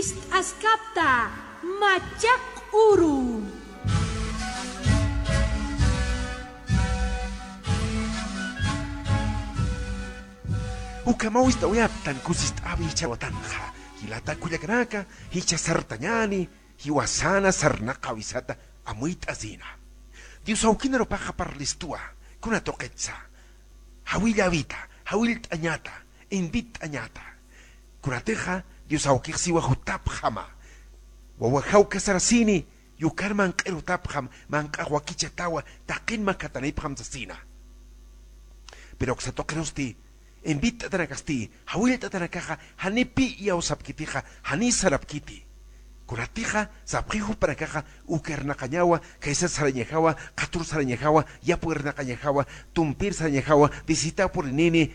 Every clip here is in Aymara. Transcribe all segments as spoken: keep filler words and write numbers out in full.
Ist'askapta machaq uru. Ukhamaw ist'awayaptan kusist'awi jichhawatanxa. Jilata kullakanaka, jichha sartañäni, jiwasana sarnaqäwisata amuyt'asina. Dios awkinarupaxa parlistwa, kuna tuqitsa. Jawilläwita, jawillt'añata, invitt'añata. Kunatixa Dios awkix siwa jutapxama. Wawajaw casarasini, yukar manq'ir jutapxam, manq'ax wakichatawa, taqin makhatanipxam sasina. Pero uksa tuqirusti, invitt'atanakasti, jawillt'atanakaxa, janipi iyaw sapkitixa, jani sarapkiti. Kunatixa, sapxi jupanakaxa, uka irnaqañawa, khaysa sarañajawa, qhatur sarañajawa, yapu irnaqañajawa, tumpir sarañajawa, visita purinini,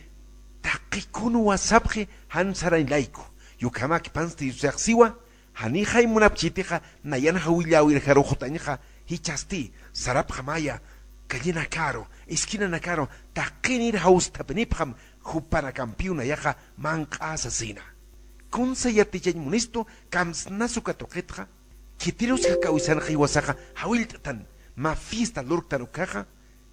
taqi kunwa sapxi, jan sarañ layku. Ukhamäkipansti Diosax siwa, janixay munapchitixa, nayan jawilläwirjaru jutañxa, jichhasti, sarapxamaya, callenakaru, esquinanakaru, taqinir jawst'apinipxam, jupanakampiw nayaxa, manq'a sasina. Kunsa yatichañ munistu, kamsnas uka tuqitxa, khitirus jak'awisanxa jiwasaxa, jawillt'atan, mä fiesta lurktan ukkhaxa,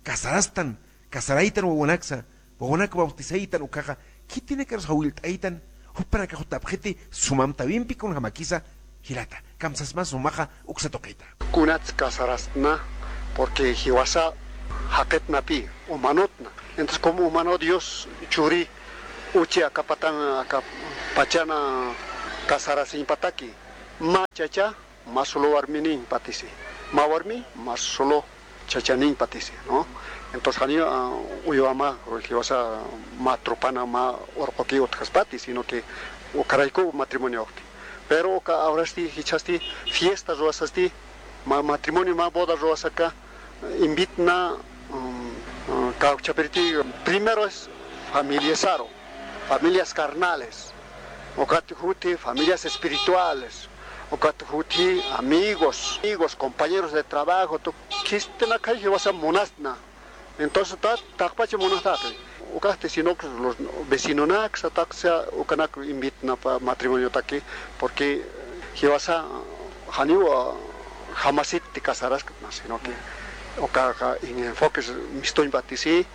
casarastan, casaraytan wawanaksa, wawanak bautizaytan ukkhaxa, khitinakarus jawillt'aytan, jupanakax jutapxiti, sumamtawimpi kunjamakisa, jilata, kamsasma sumaxa, uksa tuqita. Kunats casarastna, porque jiwasa jaqitnapï, humanotna. Entonces, como humano Dios churi, uchi aka patan, aka pachana casarasiñpataki, mä chacha, mä solo warminiñpatisi. Mä warmi, mä solo chachaniñpatisi, ¿no? Entonces, janiw, ah, uywama, jiwasa mä tropana, mä urquki utjaspati, sino que ukharayku matrimonioxti. Pero uka ahorasti, jichhasti, fiesta ruwasasti, mä matrimonio, mä boda ruwasaka, invitna, mm, mm, kawkchapiriti, primero es familiasaru, familias carnales, ukat juti familias espirituales, ukat juti amigos, amigos, compañeros de trabajo, tu khistinak jiwasa munastna. Entonces, ta, taqpacha munastati. Ukasti, sino que los vecinonaksa, taqsa, ukanak invitna pa matrimoniotaki, porque jiwasa janiw, ah, jamasitti casaraskna, sino que uka, uka en enfoques mistuñpatisi,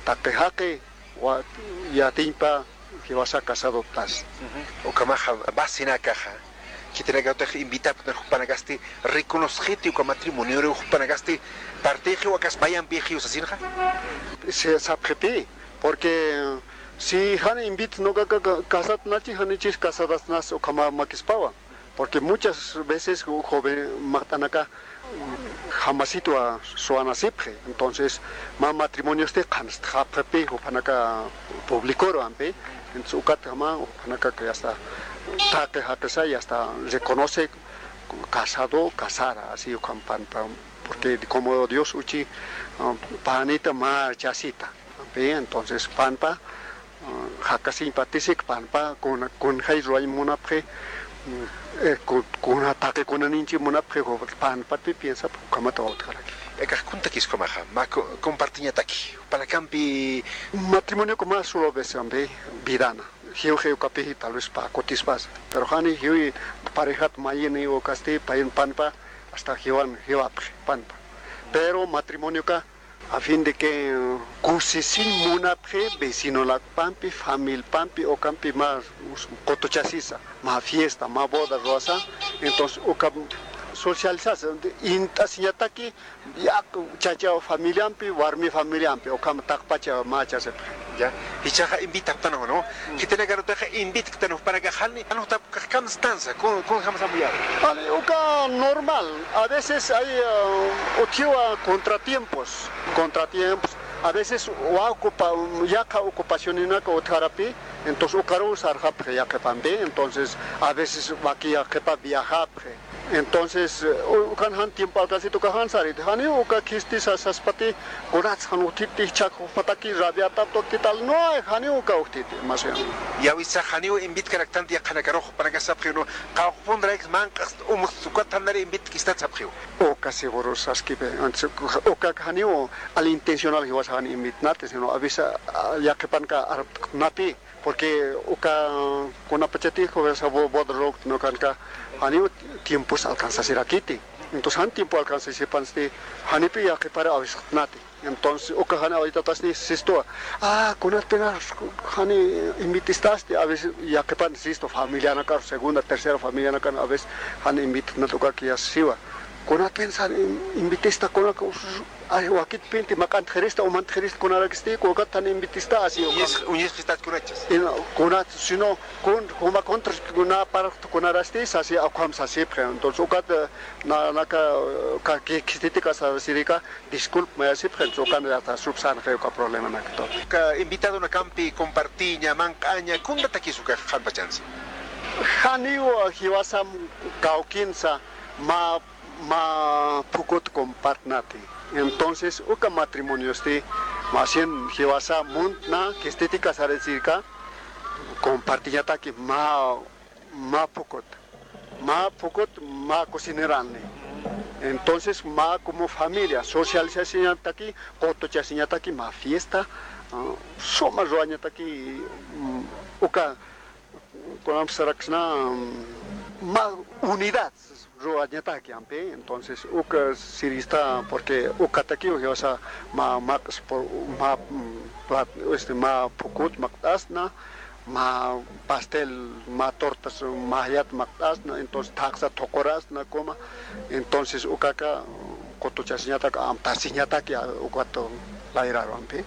taqi jaqi, wa, yatiñpa, jiwasa casadotas. Ujú. Ukhamaxa, basinakaxa, khitinakatix invitapktan jupanakasti, reconociti uka matrimonioru jupanakasti, partixi wakas mayampixi sasinxa. Si sapxipï, porque si jan invitna uka ka, ka, casatnachi, janichis casadasnas ukhama makispawa. Porque muchas veces joven maqt'anaka jamasitwa suwanasipxi. Entonces, mä matrimoniosti qhanstxapxipï, jupanaka publicoru ampi. Entonces, ukat jama, jupanaka que hasta taqi jaqisa y hasta reconoce casado, casara, así ukham panpa. Porque como Dios uchi, ah, panita, mä chasita. Ampi, entonces, panpa, ah, jakasiñpatisik panpa, kuna, kunjay ruwañ munapxi, mm, eh, ku, kuna taqi kunaninchi munapxi, ju, panpatpi piensap, ukhamata utjaraki. Akax kuntakis ukhamaxa, mä co, compartiñataki, jupanakampi. Matrimonio como solo vez ampi, vidana. Jiwji ukapi, tal vez pä kutispas. Pero jani jiwi parejat mayini ukasti, payin panpa, hasta jiwan, jiwapxi, panpa. Pero matrimonioka, a fin de que, eh, kusisiñ munapxi vecinolakpampi, familpampi, ukampi mä qutuchasisa, mä fiesta, mä boda ruwasa, entonces uka socializasa, int'asiñataki, ya, chacha familiampi, warmi familiampi, ukham taqpacha mä chasipxi. Ya, jichhaxa invitapxtan, ¿no? Mm. Khitinakarutixa invitktan jupanakax jani, jan jutap Ukax kamstansa, kun, kunjamsa amuyäwi. Vale, uka normal. A veces hay, eh, utjiwa contratiempos, contratiempos. A veces wa ocupa, yaqha ocupacioninaka utjarapï, entonces ukaruw sarxapxi yaqhipampi, entonces a veces waki yaqhipa viajapxi. Entonces, eh, u, ukan jan tiempo alcancita uka jan sariti, janiw uka khisti sasaspati, kunats jan utjiti, jichhak jupataki rabiatapxi, ¿qué tal? No, janiw uka utjiti, más bien. Yäwisa janiw invitkaraktanti yaqhanakarux, jupanakax sapxiw, ¿no? Qawqhpunrayks manq'ast umxt ukat jan nari invitkistat sapxiw. Uka seguro saskipi, entonces, uka janiw al intencional jiwas jan invitnati, sino avisa, ah, yaqhipanka arpt'napï. Porque uka kunapachatix, o sea, bo-, boda ruwkti, ¿no? Kanka, janiw tiempos alcanzasirakiti. Entonces, jan tiempo alcanzasipansti, janipi yaqhipara awisqtnati. Entonces, uka jan awitatasni sistuwa. Ah, kunatpina jani invitistasti, a veces yaqhipan sistu, familianakar, segunda, tercera familianakan, a veces jan invitnat ukaki yasiwa. Kunatpin jan in-, invitista, kunak, ay, wakitpinti maq'antxirista, umantxirista, kunarakisti, ukat jan invitista, así, uka. Uñis-, uñisqistat kunachas. Ina, kunat, sino, kun, kuma contra, kuna par, kunarasti, sasi, ukham sasipxi. Entonces, ukat, eh, na, naka, eh, ka, ki, kistiti kasarasirika, disculpa, mayasipxi, entonces, ukan ya está, subsanxi, uka problema nakto. Ka invitadonakampi, compartiña, manq'aña, kundatakis uka qhanpachansi. Janiw, jiwasam, kawkinsa, ma, ma phukut compartnati. Entonces, uka matrimoniosti, más bien, jiwasa muntna, kistiti kasarasirika, compartiñataki, ma, ma phukut, ma phukut, ma cocinerani. Entonces, ma como familia, socializañataki, qotuchasiñataki, ma fiesta, ah, suma ruwañataki, mm, uka, kunampi saraksna, mm, ma unidad ruwañataki ampi. Entonces, uka sirista, porque ukatakiw, o sea, ma, ma, por, ma, mm, plat-, este, ma phukut maqt'asna, ma pastel, ma tortas, ma jayat maqt'asna, entonces, thaqsa thuqurasna, kuma. Entonces, ukaka, qotuchasiñatak, amtasiñataki, a, ukat layraru ampi.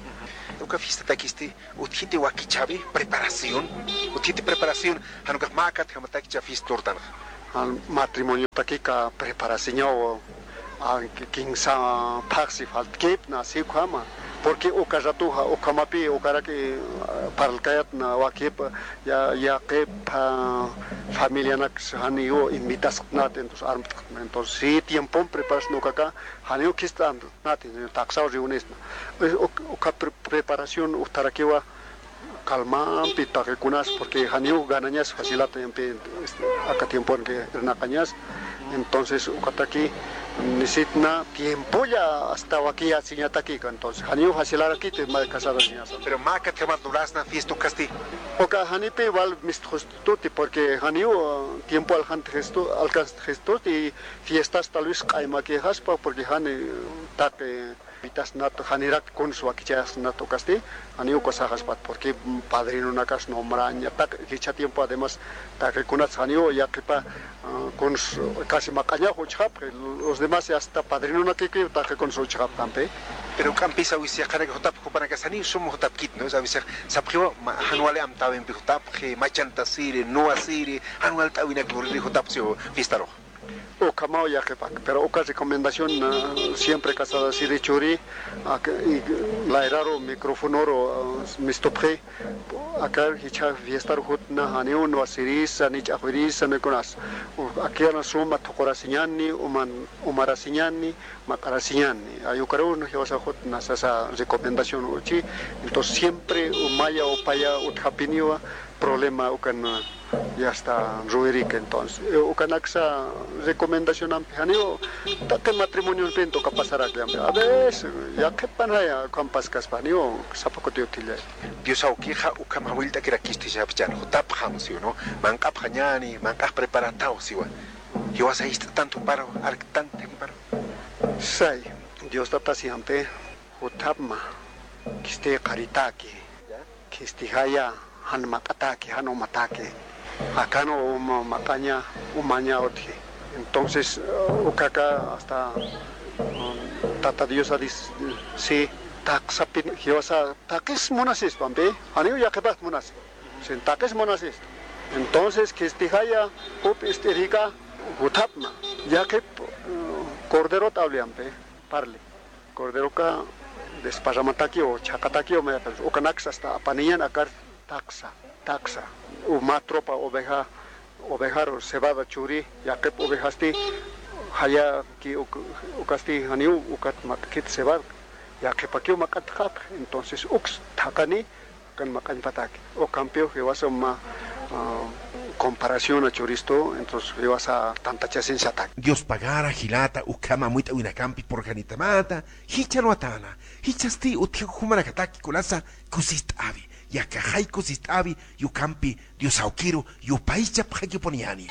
Uka fiestatakisti, utjiti wakichäwi, preparación. Utjiti preparación, jan ukax mä katjamatakcha fiesta lurtanxa. Jan matrimoniotakika preparasiñaw, a, ki-, kinsa phaxsi faltkipna, así ukhama. Porque uka ratuxa, ukhamapï, ukaraki, a, parlkayatna, wakipa, ya, yaqhip, a, familianaks janiw invitasqtnat, entonces, armtqtna. Entonces, sí, tiempon preparasna ukaka, janiw khist'an, nati, thaqsaw reunirasna. Eh, uk-, uka pre-, preparación utjarakiwa, calmampi taqikunas, porque janiw ganañas facilata yampi, este, aka tiemponki irnaqañas. Entonces, ukataki, necesitna tiempolla hasta wakiyasiñatakika, entonces, janiw facilarakiti, mä casarasiñasa. Pero mä katjamat lurasna fiesta ukasti. Uka janipi wal mistxustuti, porque janiw, uh, tiempo aljantixistu, alcanztixistuti, fiestas tal vez q'aymakixaspa, porque jani taqi invitasnat, janirak kuns wakichasnat ukasti, janiw uka saxaspat, porque padrinonakas nombraña, taq, jichha tiempo además, taqikunats janiw yaqhipa, ah, kuns casi maq'añax uchxapxi, los demás ya hasta padrinonakiki taqi kuns uchxapxampi. Pero juk'ampis a veces yaqhanaka jutapxi, jupanakas janiw sum jutapkit, ¿no? A veces sapxiwa, ma, jan wali amtäwimpi jutapxi, machanta siri, nuwa siri, jan walt'äwinak luriri jutapxi fiestarux. Ukhamaw yaqhipak, pero uka recomendación, ah, siempre casarasiri churi, ak-, y layraru microfonoru, ah, mistupxi, aka jichha fiestaru jutna, janiw nuwa sirisa, ni ch'axwirisa, ni kunas. U-, akiyana suma thuqurasiñani, uman-, umarasiñani, maq'arasiñani. Ay ukaruw jiwasa jutna sasa recomendación uchi. Entonces siempre umaya, upaya, utjapiniwa, problema ukan, ya está, ruwirïki. Entonces, eh, ukanaksa recomendacionampi, janiw taqi matrimoniompi uka pasarak yampi. A veces, yaqhipanaya, ukham paskaspa, janiw sapa kuti utjillay. Dios awkixa ukham jawillt'akirakistu sapxchan, jutapxam, ¿sí o no? Manq'apxañäni, manq'ax preparataw, siwa. Jiwasa jist'tan thuparu, arktan thakiparu. Say, Dios Tata siyampi, jutapma, khisti qharitaki. Khistixaya jan maq'ataki, jan umataki. Akan uma maq'aña, umaña utji. Entonces, uh, ukaka hasta, um, Tata Diosa dis-, si taqsapin, jiwasa taqis munasistu ampi, janiw yaqhipaxt munasi. Sin taqis munasistu. Entonces, khistixaya jup ist'irika jutapma. Yaqhip, uh, corderot awli ampi, parli. Corderoka desparramatakiw, chhaqatakiw, mayapis ukanaksa hasta apaniñan akar taqsa, taqsa. U mä tropa oveja, ovejaru cebada churi, yaqhip ovejasti, jayaki uk-, ukasti janiw, ukat maq'kit cebada, yaqhipakiw maq'antxapxi. Entonces, uks thaqani, Kan maq'añpataki. Ukampiw jiwasa uma, ah, comparación churistu, entonces jiwasa tantachasiñataki. Dios pagara, jilata, ukham amuyt'äwinakampi purxanitamata, jichhar watäna, jichhasti utji jumanakataki kunasa kusist'äwi. Yakaxayku sist'awi yukampi Dios awkiru yupaychapxakipuniyani.